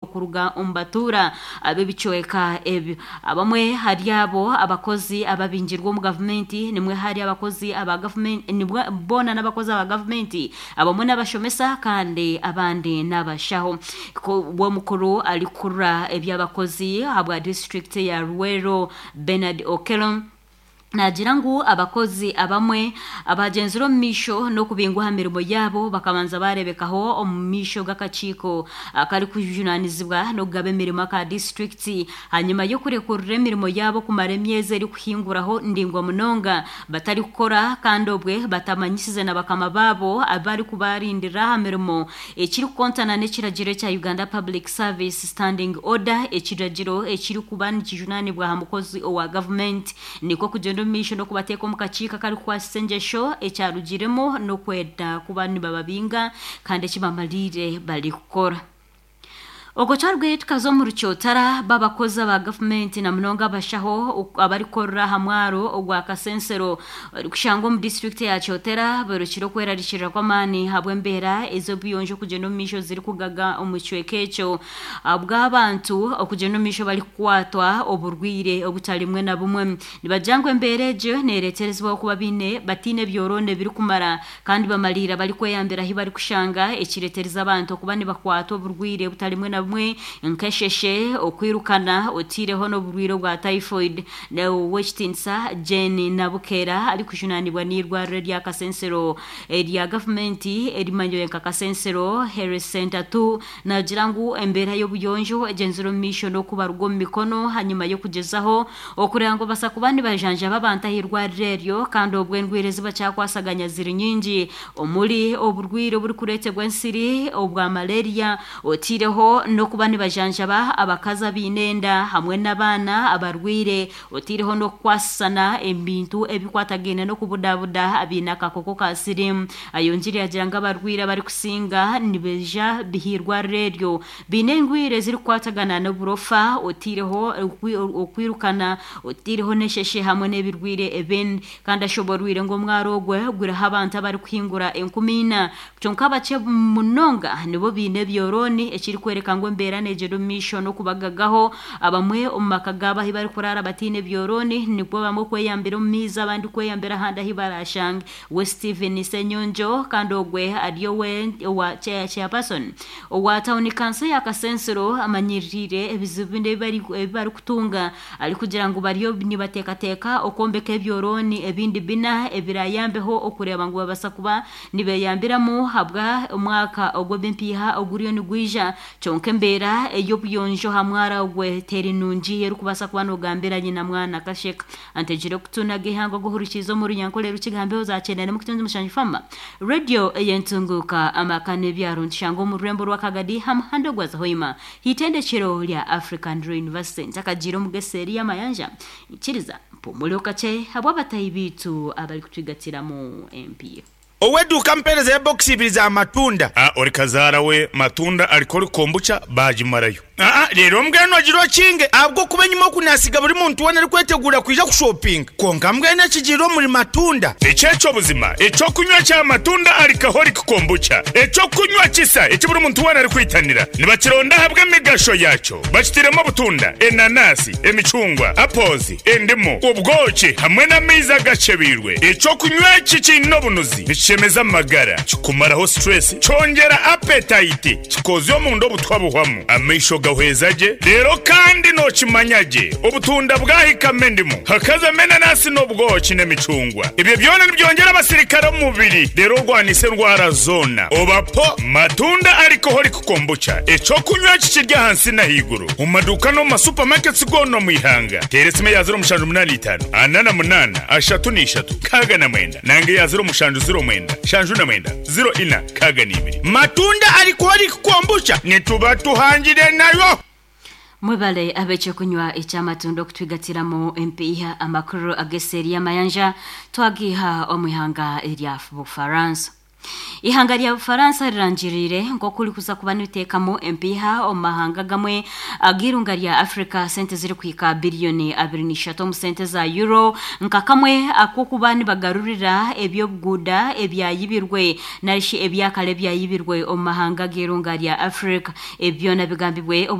Kuruga omu batuura ab'ebicweka ebyo. Abamwe hari abo abakozi ababingirwe omu gavumenti nimwe hari abakozi aba gavumenti nibwe boona n'abakozi aba gavumenti abamwe n'abashomesa kandi abandi n'abashaho. Omukuru arikukurira eby'abakozi ahabwa disiturikiti ya Luweero Bernard Okello Naagira ngu abakozi abamwe abagyenzire omu maisho n'okubingwa aha mirimo yaabo bakabanza baareebekaho omu maisho g'akakiiko akarikujunaanizibwa n'okugaba emirimo aka disiturikiti ahanyima y'okurekurira emirimo yaabo kumara emyezi erikuhinguraho ndaingwa munonga batarikukora kandi obwe batamanyisize na bakama baabo abarikubarindira aha mirimo ekirikukontana n'ekiragiro ekya Uganda Public Service Standing Order ekiragiro ekirikuba nikijunaanibwa aha mukozi owa gavumenti. Nikwo kugyenda omu maisho n'okubateeka omu kakiiko akarikukwasisa engyesho, ekyarugiremu n'okwenda kuba nibababinga kandi eki bamariire barikukora. Okwo twarugayo tukaza omu Rukyotara, b'abakozi aba gavumenti na munonga abashaho abarikukorera aha mwaro ogwa Kasensero orikushangwa omu disiturikiti ya Kyotera bayorokire okwerarikirira kw'amaani ahabw'embeera ez'obuyonjo okugyenda omu maisho zirikugaga omu kicweka ekyo. Ahabw'abantu okugyenda omu maisho barikukwatwa oburwaire obutari bumwe na bumwe. Nibagira ngu embeera egyo neereeterezibwa okuba baine bataine byorooni ebirikumara kandi bamariira barikweyambira ahu barikushanga ekireetereza abantu okuba nibakwatwa oburwaire obutari bumwe na bumwe nk'esheshe, okwirukana otaireho n'oburwaire obwa typhoid. Ow'ekitiinisa Jane Nabukeera arikujunaanibwa n'eirwariro erya Kasensero erya gavumenti erimanyirwe nka Kasensero Health Centre ii Naagira ngu embeera y'obuyonjo egyenzire omu maisho n'okubaruga omu mikono hanyima y'okugyezaho okureeba ngu babaasa kuba nibajanjaba abantu ah'eirwariro eryo kandi obwo endwaire ezi bakyakwasaganya ziri nyingi omuri oburwaire oburikureetebwa ensiri, obwa malaria otaireho n'okuba nibajanjaba abakazi abaine enda hamwe n'abaana abarwaire otaireho n'okukwasisana ebintu ebikwatagaine n'okubudabuda abaine akakooko ka siriimu. Ayongyire yaagira ngu abarwaire abarikusinga nibaija bih'eirwariro eryo baine endwaire ezirikukwatagana n'oburofa otaireho okwirukana, otaireho n'esheshe hamwe n'ebirwaire ebindi. Kandi ashoborwire ngu omwaro ogwo guriho abantu abarikuhingura 4000 kyonka bakye munonga nibo baine ebyorooni ekirikworeka ngu embeera negyenda omu maisho n'okubagagaho. Abamwe omu maka gaabo ahu barikuraara bataine byorooni nikwo bamwe kweyambira omu maizi abandi kweyambira ahandi ahu baraashange. We Steven Ssenyonjo kandi ogwe ari owe owa chairperson owa tauni kanso ya Kasensero amanyirire ebizibu binu ebi barikutunga arikugira ngu bariyo nibateekateeka okwombeka ebyorooni ebindi bina ebirayambeho okureeba ngu babasa kuba nibeyambiramu ahabwa omwaka ogw'ebimpiiha oguriyo nigwija kyonka embeera ey'obuyonjo aha mwaro ogwe teri nungi erikubaasa kuba nogambira nyina mwana kasheka. Antegire okutu n'ag'eihanga oguhurikiize omu Runyankore Rukiga aha mbeho za 97 Fama, Radio ey'entunguuka, amaka n'ebyaro nitushanga omu rurembo rwa Kagadi aha muhanda ogwaza Hoima h'eitendekyero rya African Law University. Ntakagiire omu g'eseeri y'amayanja, nyikiriza mpumureho kakye habw'abatahi baitu abarikutwigatiramu empiiha. Ow'eduuka ampeereza ya bokisi ibiri za matunda. A Ori kazaara we matunda ariko ori kombucha baagimarayo. Aa Reero mbwenu ogire okinge ahabw'okuba enyima oku naasiga buri muntu weena arikweteguura kwija kushopinga. Kwonka mbwenu ekigiire omuri matunda. Eki eky'obuzima, eky'okunywa kya matunda alcoholic kombucha, eky'okunywa kisa eki buri muntu weena arikwitanira. Nibakironda ahabw'emigasho yaakyo. Bakitairemu obutunda, enanasi, emicungwa, apples, endimu, obwoki hamwe n'amaizi agakyebeirwe. Eky'okunywa eki kiine obunuzi, nikishemeza amagara, kikumaraho stress, kyongyera appetite, kikoozya omunda obutwa buhwamu, amaisho gahweza gye, reero kandi nookimanya gye obutunda bwahikamu endimu, hakazamu enanasi n'obwoki n'emicungwa. Ebyo byona nibyongyera abasirikare omu mubiri reero orwanise endwara zoona. Oba po matunda alcoholic kombucha, eky'okunywa eki kiri ahansi n'ahaiguru omu maduuka n'omu ma supermarkets goona omu ihanga. Teera esimu eya 0785 48 33 69 nanga eya 0709 79 04 62. Matunda alcoholic kombucha nituba tuhangire nayo. Mwebale ab'ekyokunywa eky'amatunda okutwigatiramu empiiha. Amakuru ag'eseeri y'amayanja twagiiha omu ihanga erya Bufaransa. Eihanga rya Bufaransa rirangiriire nk'oku rikuza kuba niriteekamu empiiha omu mahanga agamwe ag'eirunga rya Africa sente zirikuhika biriyoni 23 omu sente za Euro nka kamwe ak'okuba nibagarurira eby'obuguuda ebyayibirwe narishi ebyakare ebyayibirwe omu mahanga ag'eirunga rya Africa. Ebi byona bigambibwe obu.